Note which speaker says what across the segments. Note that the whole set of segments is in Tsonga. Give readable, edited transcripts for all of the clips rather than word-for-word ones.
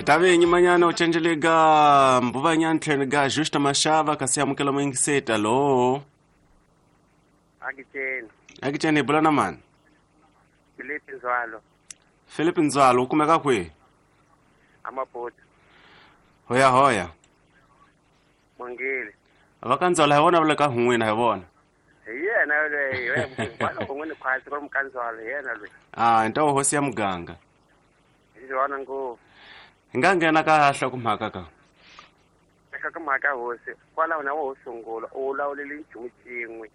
Speaker 1: Tave nyimanyana u cenjele ga mbuvanyana tlhelo ga Justa Mashava kasi amukela muyingiseti. Alo.
Speaker 2: Akitsheni.
Speaker 1: Akitsheni hi bula na mani?
Speaker 2: Philip Nzwalo.
Speaker 1: Philip Nzwalo u kumeka kwihi?
Speaker 2: Amaputo.
Speaker 1: Hoya hoya.
Speaker 2: Mongile.
Speaker 1: Va ka Nzwalo hi vona va le ka n'wina hi vona.
Speaker 2: Hi yena loyi, kwaloko n'wini khwatsi ku ri mukandzwalo hi yena loyi.
Speaker 1: Ah, ntawo hosi ya muganga.
Speaker 2: Hi yona ngopfu.
Speaker 1: Hi nga nghena ka nhlokomhaka ka.
Speaker 2: Nhlokomhaka hosi, kwalaho na wo sungula u vulavulele nchumu xin'we.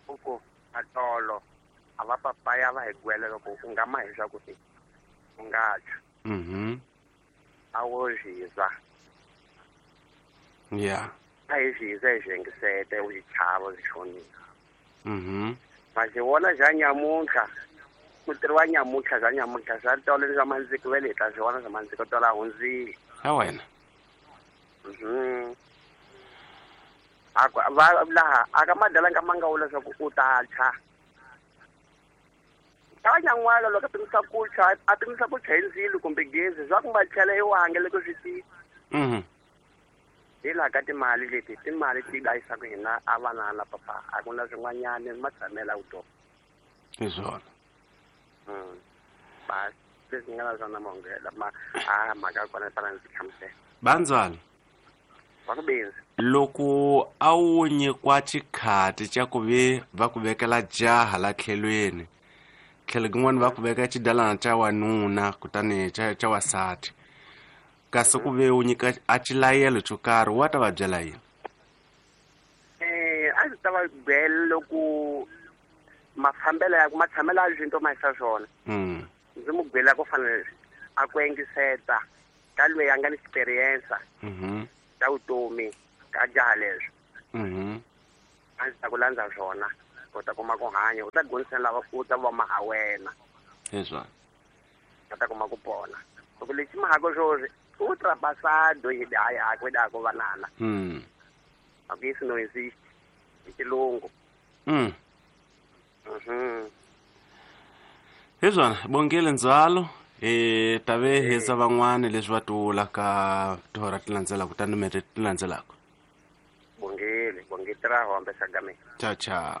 Speaker 2: U ku atolo a va papaya va hi gwela loko u nga ma hi swa ku u nga tshwa. A wo zwiza.
Speaker 1: Yeah.
Speaker 2: A hi zwiza hi swi u xichavo swi xonisa. Ma xi vona bya nyamuntlha, ku tirhiwa nyamuntlha bya nyamuntlha swa tolo ni swa mandziko vele hi ta swi vona swa mandziko tolo a hundzile.
Speaker 1: Ya wena.
Speaker 2: A ku va laha a ka madala nga ma nga vula leswaku u ta tshwa. Ta nyan'wala loko a pimisa ku tshwa, a pimisa ku tshwa hi ndzilo kumbe gezi swa ku ma tlhela i wange loko swi tika. Hi laha ka timali leti, timali ti dlayisaka hina a vanana papa, a ku na swin'wanyana ma tshamela vutomi.
Speaker 1: Hi swona.
Speaker 2: Bas leswi nga na swona mahungela ma a mhaka ya kona yi fanele ndzi hlamusela.
Speaker 1: Bandzwalo.
Speaker 2: Va ku benzi.
Speaker 1: Loko a wu nyikiwa xikhati xa ku ve va ku vekela jaha la tlhelweni, tlhelo kun'wana va ku veka xidalana xa wanuna kutani xa wasati, kasi ku ve u nyika a xilayelo xo karhi, wa ta va byela yini?
Speaker 2: A ndzi ta va byela loko mafambelo ya matshamelo ya swinto ma yisa swona. Ndzi mu byela ku fanele a ku engiseta ka loyi a nga ni experience ta vutomi ka jaha leswi. A ndzi ta ku landza swona u ta kuma ku hanya, u ta dyondzisa lava u ta va maha wena.
Speaker 1: Hi swona.
Speaker 2: U ta kuma ku pona. Loko lexi mahako swoswi u trapasado yi daya a ku da ku vanana. A ku yisi no exist hi xilungu.
Speaker 1: Hi swona, bongile Ndzwalo. Hi ta ve hisa van'wani leswi va tivula ka tihora ti landzelaka, ta nimete ti landzelaka.
Speaker 2: Bongile, bongile ra hombe sagame.
Speaker 1: Ciao ciao.